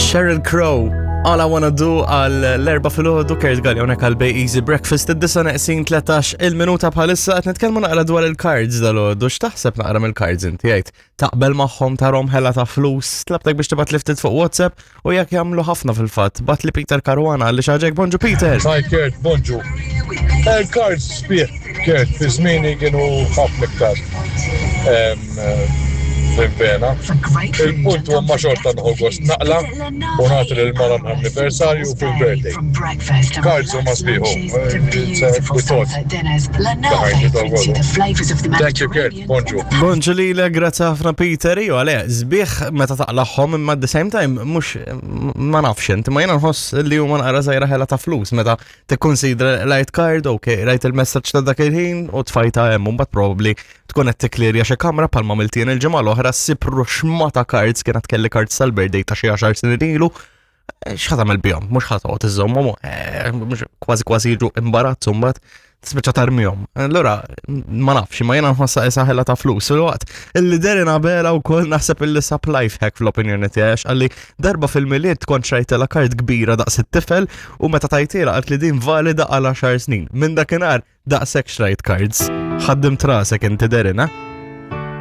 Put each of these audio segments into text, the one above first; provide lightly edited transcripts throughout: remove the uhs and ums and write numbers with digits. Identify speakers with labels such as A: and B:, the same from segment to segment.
A: Sheryl Crow, All I Wanna Do għal l-erba filgħodu Kurt Galli hawnhekk għal Bay Easy Breakfast id-disa neqsin 13 il-minuta bħalissa qed nitkellmu naqra dwar il-cards dal-għodu. X'taħseb naqra mill-cards inti jgħid? Taqbel magħhom tarhom ħela ta' flus, tlabtek biex tibgħat li ftit fuq WhatsApp u jekk jagħmlu ħafna fil-fatt. Bat li Peter Caruana li xaġek bonġu Peter.
B: Hi Kurt, bonġu. Il-cards sbieħ Kurt, fi żmieni kienu ħafna iktar fil-vena. Il-punt huwa ma xorta nħu gost naqla u nagħti lil mara anniversarju fil-birthday. Cards huma sbieħu. It's a good thought behind it all. Thank you Kurt, bonġu.
A: Bonġu lilek, grazzi ħafna Peter. Iva, le, sbieħ meta taqlaħħom imma at the same time mhux ma nafx inti ma jiena nħoss li huma naqra żgħira ħela ta' flus meta tikkonsidra light card, ok, rajt il-messaġġ ta' dak il-ħin u tfajta hemm mbagħad probably tkun qed tikklirja xi kamra bħalma għamilt il-ġimgħa l-oħra ssib ruxma ta' cards kienet kelli cards tal-birthday ta' xi 10 snin ilu. Eh, x'ħa tagħmel bihom, mhux ħa toqgħod iżżommhom, eh, mhux kważi kważi jiġu imbarazzu mbagħad tispiċċa tarmihom. Allura ma nafx, ma jiena nħossha isa ħela ta' flus. Fil-waqt illi Derin Abela wkoll naħseb illi sab life hack fl-opinjoni tiegħi għax qalli darba fil-Milied kont xrajtilha kart kbira daqs it-tifel u meta tajtiela qalt li din valida għal 10 snin. Minn dakinhar daqshekk xrajt cards. Ħaddim trasek inti Derin, eh?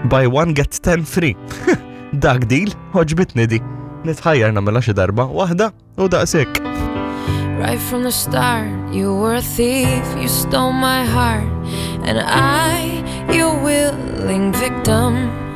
A: Buy one get 10 free. Dak deal, ħoġbitni di. Nitħajjar nagħmilha xi darba waħda u daqshekk.
C: Right from the start, you were a thief, you stole my heart, and I, your willing victim.